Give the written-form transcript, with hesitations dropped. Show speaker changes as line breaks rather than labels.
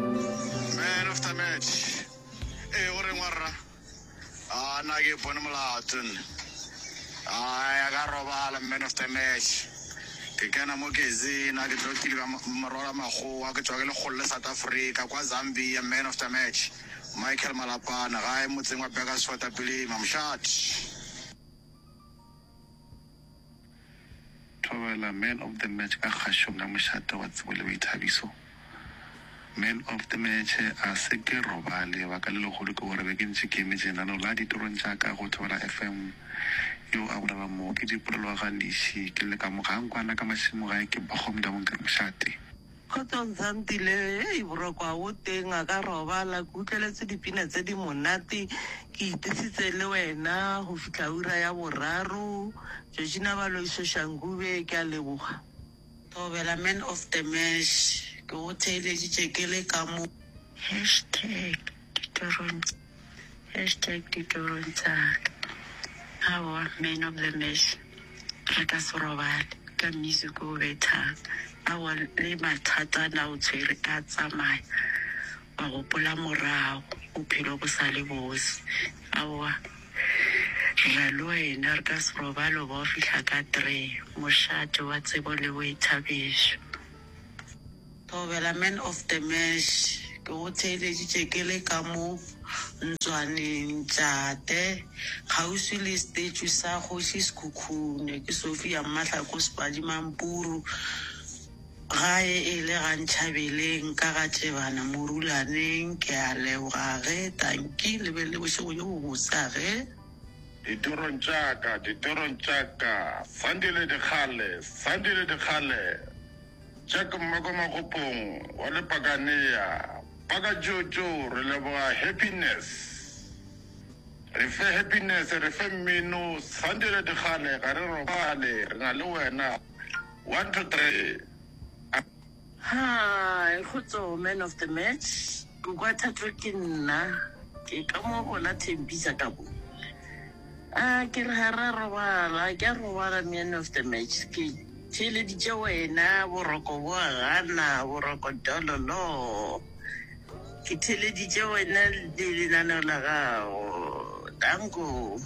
Man of the match. Ee, o reng wa rra? A na ke ipone molato nne. Ai, a ka robala man of the match. Ke kena mo Gezina, ke tlo kile ka morwala makgowa, ke tšwa ke lekgolo le South Africa, kwa Zambia, man of the match. Michael Malapana, gae motseng wa Burgersfort, Apilima, mošate.
Thobela Man of the Match ka kgašong ya mošate wa tsebo le boithabiso. Man of the Match a se ke robale. Lebaka le legolo ke gore be ke ntše ke emetše lenaneo la ditorong tša ka go Thobela FM. Yo a bolelang mo ke Dipolelo wa ga Leši. Ke le ka mo ga Nkwana ka mašemo gae ke Bakgomdi a Bonkere Mošate.
Kgotsong Santile, hei boroko ga bo teng, a ka robala, ke utlweletse dipina tse di monate, ke itisitse le wena go fihla ura ya boraro. Georgina Baloiso Shangube, ke a leboga. Thobela man of the match, ke go theeleditše ke le ka mo.
Hashtag ditorong Hashtag ditorong tša ka. Aowa man of the match re ka se robale ka music o bethang. Aowa le mathata a na o tshwere a tsamaya wa gopola morago bophelo bo sa le bose. Aowa re ra le wena re ka se robale o ba o fihla ka tree mošate wa tsebo le boithabišo.
Thobela man of the match ke go theeleditše ke le ka mo ntswaneng Tšate kgauswi le statue sa Kgoši Sekhukhune ke Sophia Mmahlako Sepadi Mampuru gae e le ga Ntšhabeleng ka ga Tšebana Morulaneng ke a leboga ge tanki le be le bošego bjo bobotse a ge.
Ditorong tša ka, ditorong tša ka, Sandile Dikgale, Sandile Dikgale. Jack Mmako Makgopong wa Lepakanea, Paka Jojo re leboga happiness. Re fe happiness, re fe mmino, Sandile Dikgale ga re robale, re na le wena. 1 2 3.
Hi, Kgotso man of the match. Koko a Thato ke nna. Ke ka mo gona Thembisa ka mo. A ke re ga ra robala, ke a robala man of the match. Ke theeleditše wena, boroko bo a gana, boroko dololo. Ke theeleditše wena le lenaneo la gago. Danko.